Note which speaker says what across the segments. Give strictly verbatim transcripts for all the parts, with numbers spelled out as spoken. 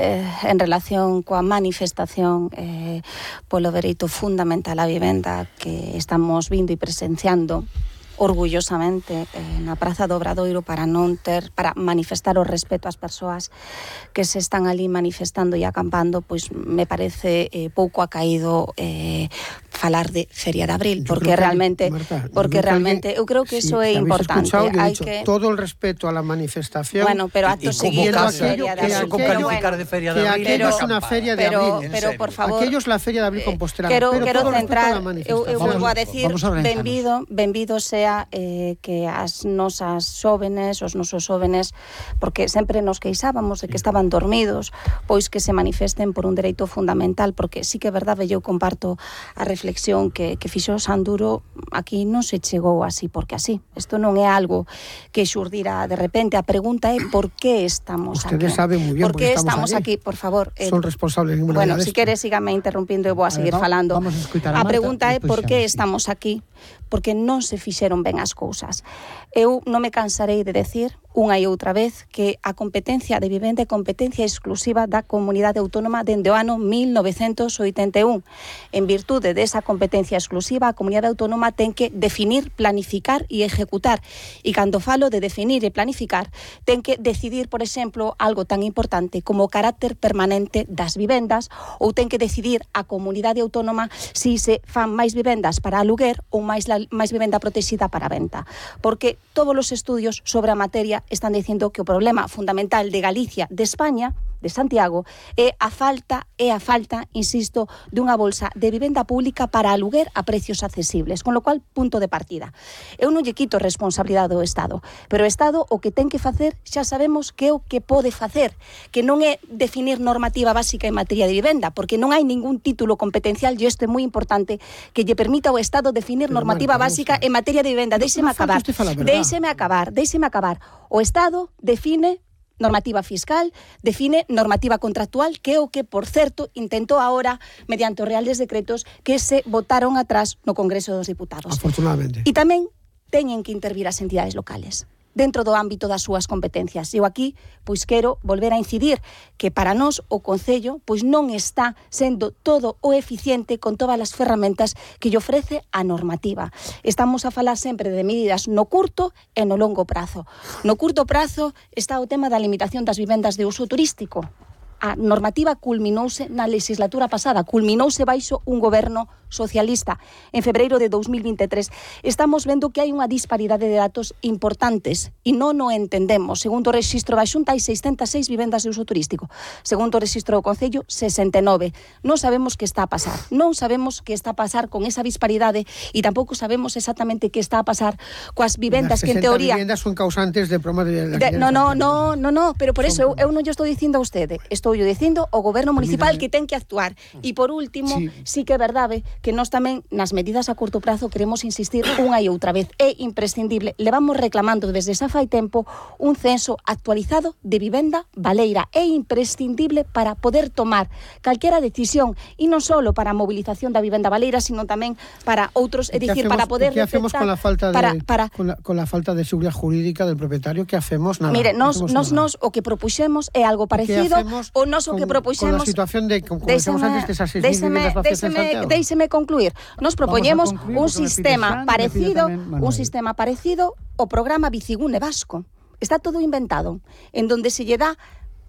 Speaker 1: Eh, en relación coa manifestación eh, polo dereito fundamental á vivenda que estamos vindo e presenciando orgullosamente eh, na Praza do Obradoiro para non ter, para manifestar o respeto ás persoas que se están ali manifestando e acampando, pois me parece eh, pouco acaído eh, falar de Feria de Abril,
Speaker 2: yo
Speaker 1: porque realmente
Speaker 2: que, Marta,
Speaker 1: porque realmente eu creo que
Speaker 2: si,
Speaker 1: eso é importante.
Speaker 2: Hai
Speaker 1: dicho,
Speaker 2: que todo el respeto a la manifestación.
Speaker 1: Bueno, pero acto seguido
Speaker 2: Feria de Abril.
Speaker 3: Con calificar de Feria de Abril,
Speaker 2: aquello es una Feria de
Speaker 1: pero,
Speaker 2: Abril.
Speaker 1: Pero por favor,
Speaker 2: aquello es la Feria de Abril Compostela.
Speaker 1: Quero,
Speaker 2: pero
Speaker 1: quero
Speaker 2: todo
Speaker 1: centrar, eu, eu
Speaker 2: volvo
Speaker 1: a decir, benvido, benvido sea eh, que as nosas xóvenes, os nosos xóvenes, porque sempre nos queixábamos de que estaban dormidos, pois que se manifesten por un dereito fundamental, porque sí que é verdade, eu comparto a reflexión que, que fixo Sanduro, aquí non se chegou así porque así. Isto non é algo que xurdira de repente. A pregunta é por que estamos
Speaker 2: Ustedes
Speaker 1: aquí.
Speaker 2: saben muy bien
Speaker 1: por que
Speaker 2: estamos,
Speaker 1: estamos aquí, por favor. Eh,
Speaker 2: Son responsables de ninguna
Speaker 1: Bueno,
Speaker 2: de
Speaker 1: si queres, sígame interrumpindo e vou a seguir
Speaker 4: a ver,
Speaker 1: falando.
Speaker 4: Vamos a escutar a,
Speaker 1: a
Speaker 4: Marta,
Speaker 1: pregunta é por que
Speaker 4: sí.
Speaker 1: estamos aquí, porque non se fixeron ben as cousas. Eu non me cansarei de decir unha e outra vez que a competencia de vivenda é competencia exclusiva da Comunidade Autónoma dende o ano mil novecentos oitenta e un. En virtude desa competencia exclusiva, a Comunidade Autónoma ten que definir, planificar e ejecutar. E cando falo de definir e planificar, ten que decidir, por exemplo, algo tan importante como o carácter permanente das vivendas, ou ten que decidir a Comunidade Autónoma si se fan máis vivendas para aluguer ou máis, la, máis vivenda protexida para venta. Porque todos os estudios sobre a materia están dicindo que o problema fundamental de Galicia, de España, de Santiago, é a falta, é a falta, insisto, dunha bolsa de vivenda pública para aluguer a precios accesibles, con lo cual, punto de partida. Eu non lle quito responsabilidade ao Estado, pero o Estado o que ten que facer xa sabemos que é o que pode facer, que non é definir normativa básica en materia de vivenda, porque non hai ningún título competencial, e isto é moi importante, que lle permita ao Estado definir
Speaker 2: pero
Speaker 1: normativa
Speaker 2: Marta,
Speaker 1: básica en materia de vivenda. Déixeme acabar, déixeme acabar, déixeme acabar. O Estado define normativa fiscal, define normativa contractual, que é o que, por certo, intentou agora, mediante os reales decretos que se votaron atrás no Congreso dos Diputados.
Speaker 2: Afortunadamente.
Speaker 1: E tamén teñen que intervir as entidades locales dentro do ámbito das súas competencias. Eu aquí, pois, quero volver a incidir que para nós o Concello pois non está sendo todo o eficiente con todas as ferramentas que lle ofrece a normativa. Estamos a falar sempre de medidas no curto e no longo prazo. No curto prazo está o tema da limitación das vivendas de uso turístico. A normativa culminouse na legislatura pasada, culminouse baixo un goberno socialista en febreiro de dous mil vinte e tres. Estamos vendo que hai unha disparidade de datos importantes e non o entendemos. Segundo o rexistro da Xunta, hai seiscentas e seis vivendas de uso turístico. Segundo o rexistro do Concello, sesenta e nove. Non sabemos que está a pasar. Non sabemos que está a pasar con esa disparidade e tampouco sabemos exactamente que está a pasar coas vivendas que en teoría...
Speaker 2: As vivendas son causantes de problemas de...
Speaker 1: de no, no, no, no, no, pero por eso eu, eu non lle estou dicindo a usted, estou yo dicindo o goberno municipal que ten que actuar. E por último, sí. sí que é verdade que nós tamén nas medidas a curto prazo queremos insistir unha e outra vez. É imprescindible, levamos reclamando desde xa fai tempo un censo actualizado de vivenda baleira. É imprescindible para poder tomar calquera decisión e non só para a movilización da vivenda baleira, sino tamén para outros, é dicir, para poder
Speaker 2: ¿qué hacemos con la falta de
Speaker 1: para, para,
Speaker 2: con, la, con la falta de seguridad jurídica del propietario? ¿Qué hacemos? Nada.
Speaker 1: Mire, nos,
Speaker 2: no
Speaker 1: nos,
Speaker 2: nada.
Speaker 1: nos o que propuxemos é algo parecido o nos o que propuxemos
Speaker 2: con la situación de, como decíamos antes, de esas seis mil viviendas vacías en Santiago.
Speaker 1: Déixeme concluir. Nos propoñemos un sistema parecido, un sistema parecido ao programa Bicigune Vasco. Está todo inventado, en donde se lle dá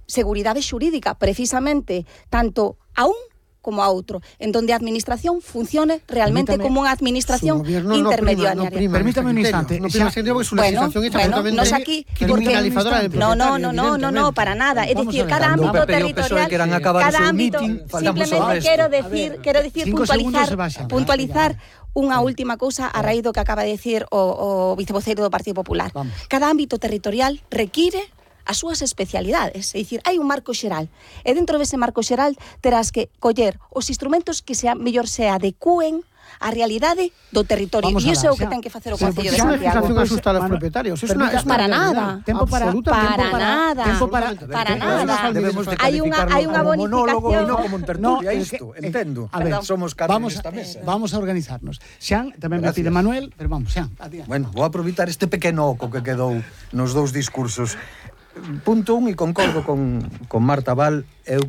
Speaker 1: seguridade xurídica, precisamente, tanto a un como a outro, en donde a administración funcione realmente
Speaker 4: Permítame,
Speaker 1: como unha administración intermediaria.
Speaker 2: No prima, no
Speaker 4: Permítame un instante.
Speaker 2: No prima sentido porque su
Speaker 1: bueno,
Speaker 2: legislación es
Speaker 1: bueno,
Speaker 2: absolutamente
Speaker 1: nos aquí
Speaker 2: criminalizadora del
Speaker 1: no, no,
Speaker 2: propietario.
Speaker 1: no, no, no, no, para nada. É dicir, cada ámbito territorial, cada ámbito, simplemente quero decir, quero decir puntualizar, puntualizar unha última cousa a raíz do que acaba de decir o, o vicevoceiro do Partido Popular.
Speaker 4: Vamos.
Speaker 1: Cada ámbito territorial require as súas especialidades, é dicir, hai un marco xeral e dentro dese marco xeral terás que coller os instrumentos que sea mellor se adecúen a realidade do territorio. E iso é o que ten que facer o Concello de Santiago.
Speaker 2: Esa legislación asusta a los propietarios. Es una, es
Speaker 1: para nada.
Speaker 4: Tempo para
Speaker 1: para nada.
Speaker 4: Tempo para
Speaker 1: para nada.
Speaker 3: Debemos de
Speaker 1: Hai unha hai unha
Speaker 3: como monólogo e
Speaker 1: bonificación.
Speaker 3: non como en tertulia, isto, entendo.
Speaker 4: A ver,
Speaker 3: somos carne
Speaker 4: vamos,
Speaker 3: nesta mesa.
Speaker 4: Vamos a organizarnos. Xan, tamén me
Speaker 3: Gracias.
Speaker 4: pide Manuel, pero vamos, Xan, adiante.
Speaker 3: Bueno, vou aproveitar este pequeno oco que quedou nos dous discursos. Punto un, e concordo con, con Marta Val, eu